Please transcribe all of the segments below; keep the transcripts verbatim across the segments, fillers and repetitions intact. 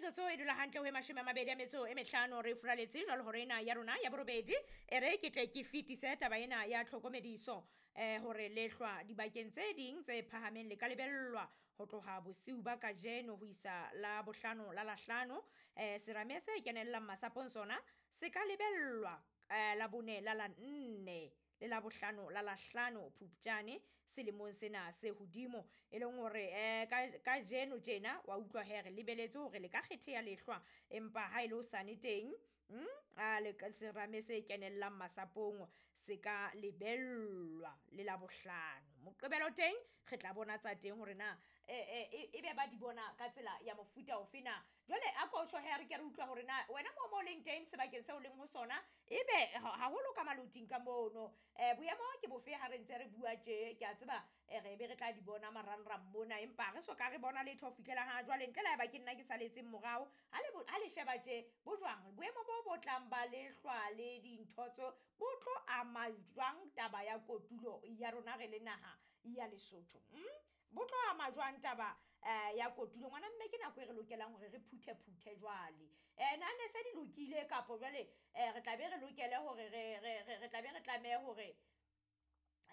Metsotso e dula hantle ho e mashome a mabedi a metso e mehlano re furaletse jwalo hore ena ya rona ya borobedi e re ke tle ke fetise taba ena ya tlhokomediso eh hore lehlwa dibakeng tse ding tse phahameng le ka lebellwa ho tloha bosiu ba kajeno ho isa la bohlano la lahlano. Eh serame se kenellang masapong sona se ka lebellwa eh la bone la la nne le la bohlano la lahlano Phupjane selemong sena se hodimo, e leng hore eh ka kajeno tjena wa utlwa he re lebeletse hore le ka kgetheha lehlwa, empa ha ile o sane teng mm a le serame se kenellang masapong se ka lebellwa le la bohlano. Moqebelo teng re tla bona tsa teng hore na e e be ba di bona ka tsela ya mofuta ofe na. Jwale a ko tjho he re ke re utlwa hore na wena mo mo leng teng sebakeng seo leng ho sona ebe haholo ka maloting ka mono eh boemo ke bofe ha re ntse re bua tje. Ke a tseba re be re tla di bona marangrang mona, empa re so ka re bona letho ho fihlela ha jwale ntle le haeba ke nna ke saletseng morao. Ha le ha le sheba tje bo jwang boemo bo bo tlang ba lehlwa le dintho tso bo tlo ama jwang taba ya kotulo ya rona re le naha ya Lesotho? Mm? Bo tlo ama jwang taba eh ya kotulo? Ngwana mme ke nako e re lokelang hore re phuthe phuthe jwale. Eh na ne se di lokile kapo jwale eh re tla be re lokele hore re re re tla be re tlameha hore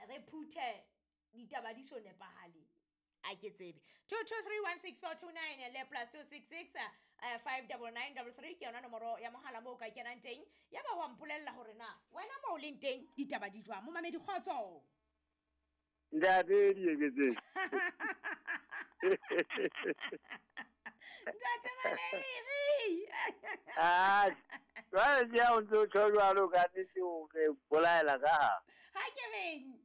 re phuthe ditaba di so nepahale? A ke tsebe. Two two three one six four two nine le plus two six six uh, five double nine double three ke yona nomoro ya mohala moo ka kenang teng. Ya ba wa mpolella hore na wena moo leng teng ditaba di jwang. Momamedi kgotso. Ntate Dieketseng. Ntate Maleiri. Ah, jwale ke ha o ntso tjho jwalo ka nnete o re bolaela ka ha. Ha ke reng?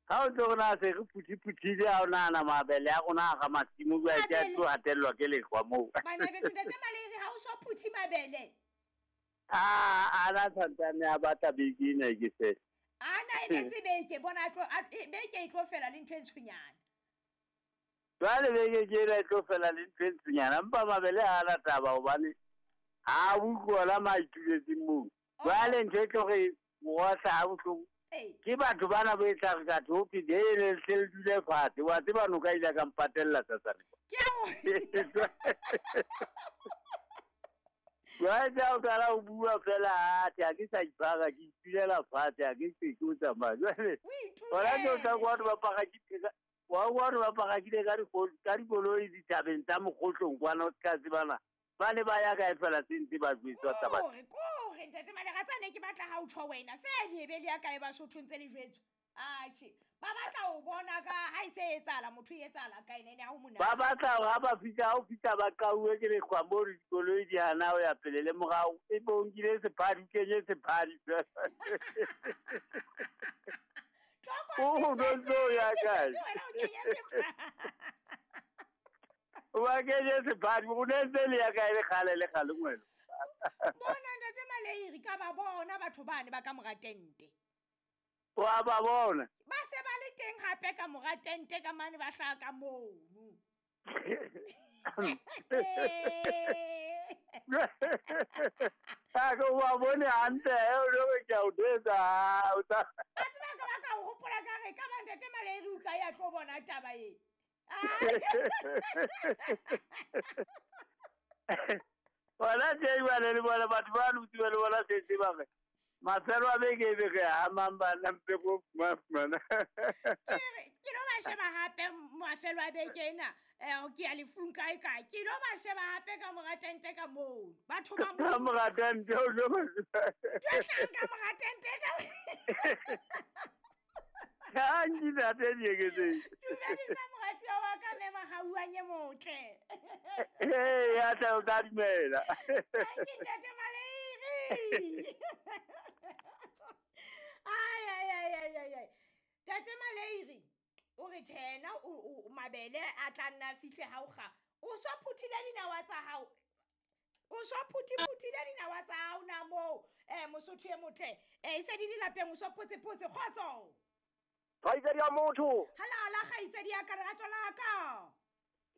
Ha o ntso rona se re phuthiputhile ha o nahana mabele a rona a ga masimo jwale ke a tlo hatellwa ke lehlwa moo. Bana beso Ntate Maleiri ha o so phuthi mabele. Ah, ana santsane a batla beke ena ke se. Ana e metse beke bona tlo beke e tlo fela le ntho e ntshonyana. Jwale beke ke ena e tlo fela le ntho e ntshonyana, empa mabele ha ana taba hobane ha utlwa la maituletseng moo. Jwale ntho e tlo re mowahla ha bohloko ke batho bana bo e tla re ka thophi le le hle le dule fatshe. Wa tseba noka ile ka mpatella tsatsane. Ke a Jwale ha o qala ho bua fela athe ha ke sa ipara ke itulela fatshe ha ke se ke o tsamaya. Jwale hona tje o tla kwa batho ba parakile wa wa ba parakile ka ka dikoloi dithabeng tsa Mokgotlong kwana o ska tsebana ba ne ba ya kae fela se ntse ba jwetswa taba. Kore kore Ntate Maleiri tsane ke batla ha o tjho wena fela e be le ya kae Basotho ntse le jwetswa. Atjhe ba batla ho bona ka ha e se etsahala motho e etsahala kae nene ha ho monate. Ba batla hore ha ba fihla ha o fihla ba qauwe ke lehlwa moo dikoloi di hana ho ya pele le morao e bo nkile sephadi kenye sephadi. O no ntso ya kae? Wena o kenye sephadi. Wa kenye sephadi o ne ntse le ya kae le kgale le kgale ngwelo. Bona Ntate Maleiri ka ba bona batho bane ba ka mora tente. Wa ba bona. Ba se ba le teng hape ka mora tente ka mane ba hlaha ka mono. Ha ko wa bone hantle o lo ke a o detsa o tsa. Ba tseba ka ba ka o hopola ka re ka ba Ntate Maleiri o ka ya tlo bona taba e. Wala tje jwale le bona batho ba lutse le bona se se ba re. Mafelo a beke e beke ha mang bana mpe go fumana. Ke lo ba sheba hape mafelo a beke ena eh ke ya lefung kae kae. Ke lo ba sheba hape ka mora tente ka moo. Batho ba mo ka mora tente o lo ba. Ke ka mora tente ka. Ha ntate Dieketseng. Dumedisa moratuwa wa ka mme Mahauanye motle. Eh ya tla o tla dumela. Ke Ntate Maleiri. Ai ai ai ai ai ai. Ntate Maleiri o re tjena o mabele a tla nna fihle ha o kga. O so phuthile dinawa tsa hao. O so phuthi phuthile dinawa tsa hao na moo. Eh Mosotho e motle. Eh e se di le lapeng o so potse potse kgotso. Kgaitsedi ya motho. Halala kgaitsedi ya ka lerato la ka.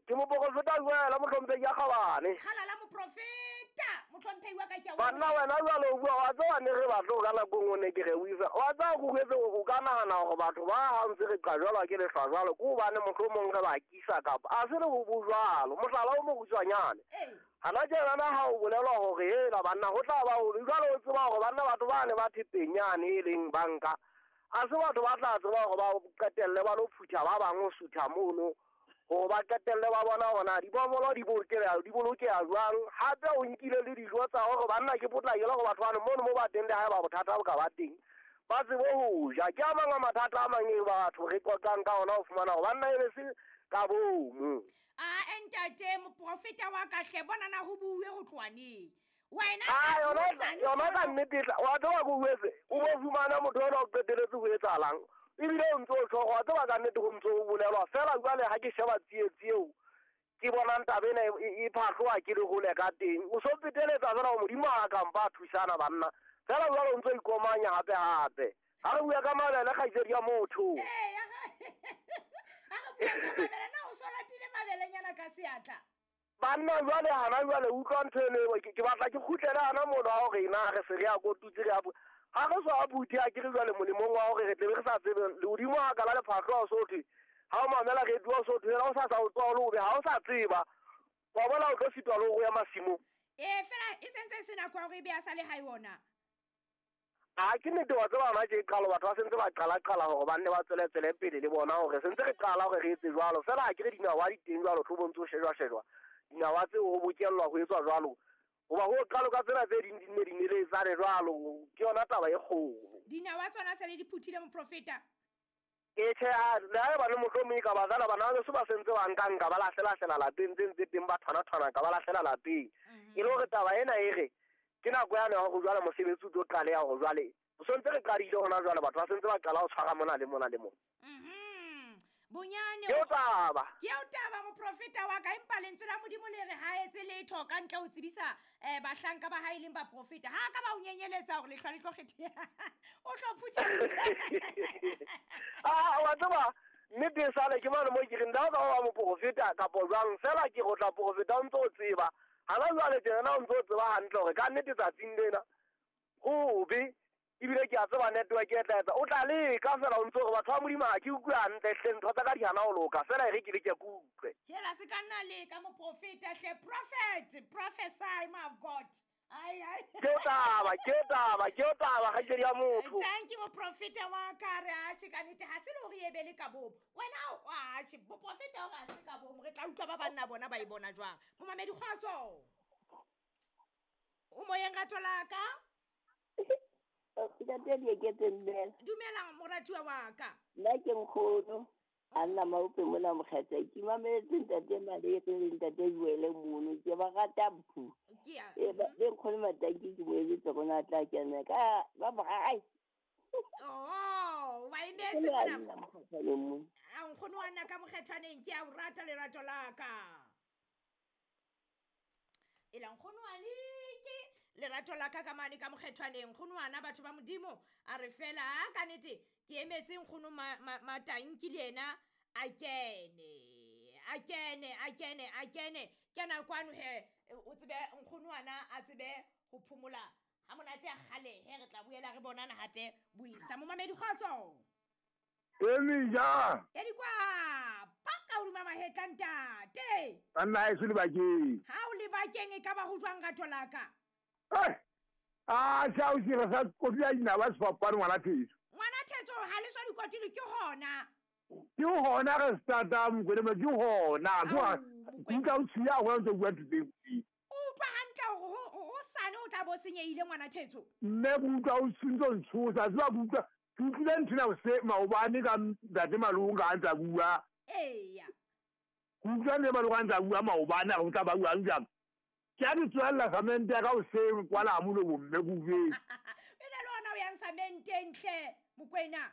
Ke moprofeta jwela mohlomphehi ya Kgabane. Halala moprofeta. Moprofeta mohlomphehi wa ka ke a Banna wena jwale o bua wa tseba ne re batlo ka nako e nngwe ne ke re o isa. Wa tseba ke utlwetse o ka nahana hore batho ba ha ntse re qa jwalo ke lehlwa jwalo ke hobane mohlomong re ba kisa kapa a se re bo bo jwalo. Mohlala o mokgutshwanyane. Ee. Hana tjenana ha o bolelwa hore hela banna ho tla ba ho jwale o tseba hore banna batho ba ne ba thepeng yane e leng banka. A se batho ba tla tseba hore ba qetelle ba lo phutha ba bang ho sutha mono. Hore ba qetelle ba bona hore na dibomolo di bolokeha di bolokeha jwang. Hape o nkile le dijo tsa hore banna ke potlakela hore batho bano mono mo ba teng le haeba bothata bo ka ba teng. Ba tsebe ho ja. Ke a mang a mathata a mang e batho re qoqang ka ona ho fumana hore banna e be se ka bomo. A ntate moprofeta wa ka hle bona na ho buwe ho tloha neng. Wena Ah, yona yona ka nnete e tla wa tseba ke o jwetse, o bo fumana motho enwa o qetelletse ho etsahalang. Ebile o ntso o tjho wa tseba ka nnete ho ntso ho bolelwa feela jwale ha ke sheba tsietsi eo ke bonang taba ena e e phahloha ke le hole ka teng. O so peteletsa feela hore Modimo ha a ka mpa a thusana banna. Feela jwale o ntso ikomanya hape hape. Ha re bua ka mabele kgaitsedi ya motho. Ee, ya ga ha re bua ka mabele na o so latile mabelenyana ka seatla. Banna jwale hana jwale utlwa ntho eno ke ke batla ke kgutlele hana mono wa hore na re se re ya kotutse re ya bu- ha re so a buthe a ke re jwale molemong wa hore re tle be re sa tsebe lehodimo ha ka la lephahlo ha o so thwe ha o mamela radio o so thwe ha o sa sa o tsoha o le hobe ha o sa tseba wa bona o tlo sitwa le hore o ya masimong. Ee, fela e sentse e se nako ya hore ebe a sa le hae ona. A ke nnete wa tseba hona tje qalo batho ba sentse ba qala qala hore ba nne ba tswele tswele pele le bona hore sentse re qala hore re etse jwalo fela ha ke re dinawa di teng jwalo tlo bontse ho shejwa shejwa. Dinawa tseo ho bokellwa ho etswa jwalo. Hoba ho qalo ka tsena tse ding di nne di neletsane jwalo ke yona taba e kgolo. Dinawa tsona se le di phuthile moprofeta. E tjhe, ha le haeba le mohlomong e ka ba jwale bana ba beso ba sentse ba nka nka ba lahlela-hlela lapeng tse ntse teng ba thwana-thwana ka ba lahlela lapeng. E le hore taba ena e re ke nako yane ya hore jwale mosebetsi o tlo qaleha hore jwale o sontse re qadile hona jwale batho ba sentse ba qala ho tshwara mona le mona le mona. Mhm. Bonyane Ke o taba. Ke o taba moprofeta wa ka empa lentswe la Modimo le re ha etse letho ka ntle ho tsebisa eh bahlanka ba hae leng baprofeta. Ha ka ba o nyenyeletsa hore lehlwa le tlo kgetheha. O tlo phutha phutha. Ah, wa tseba nnete e sale ke mane mo ke reng le ha o ka ba moprofeta kapo jwang fela ke go tla profeta o ntso o tseba. Hana jwale tjena o ntso o tseba hantle hore ka nnete tsatsing lena hobe ebile ke a tseba network e tla etsa o tla leka fela o ntso hore batho ba Modimo ha ke utlwe hantle hle ntho tsa ka di hana ho loka fela e re ke leke ke utlwe. Hela se ka nna leka moprofeta hle prophet prophesy my God. Ai ai. Ke o taba, ke o taba, ke o taba kgaitsedi ya motho. Thank you moprofeta wa ka re atjhe ka nnete ha se le hore e be le ka bomo. Wena o atjhe moprofeta hore ha se ka bomo re tla utlwa ba banna bona ba e bona jwang. Momamedi kgotso. O moyeng rato la ka? Ntate Dieketse dumela. Dumela moratuwa wa ka. Nna ke nkgono a nna Maupe mona Mokgatla. Ke mametse ntate Malere le ntate Joele mono ke ba rata phu. Ke a E ba le nkgono Matanki ke mo emetse rona a tla kena ka ba ba ai. Oh, wa emetse Ke mona. nna Mokgatlaneng mo. A nkgono wa nna ka Mokgethwaneng ke a o rata lerato la ka. Ela nkgono wa leke lerato la ka ka mane ka Mokgethwaneng nkgono wa na batho ba Modimo a re fela ka nnete ke emetse nkgono Matanki le yena a kene a kene a kene a kene kena kwano he o tsebe nkgono wa na a tsebe ho phomola ha monate a kgale he re tla boela re bonana hape buisa momamedi kgotso. Emija. E di kwa paka hodima mahetla ntate. Banna ha eso lebakeng. Ha o lebakeng e ka ba ho jwang rato la ka? Eh. Ah, sa o sira sa kotla dinawa sefapano ngwana Thetso. Ngwana Thetso ha le so dikotilo ke hona. Ke hona re starta mokwena ke hona. Au, Ke utlwa o tshiya hona ntse o bua ntho tse. O utlwa hantle hore ho sane o tla bo senyehile ngwana Thetso. Mme ke utlwa o ntso ntshosa, tseba ke utlwa ke utlwile ntho ena hose maobane ka ntate Malunga a ntsa bua. Eya. Ke utlwa ntate Malunga a ntsa bua maobane a re o tla ba buang jang. Ke a di tswella samente ya ka hoseng kwala ha molomo mme ke utlwetse. E ne le hona o yang samenteng hle Mokwena.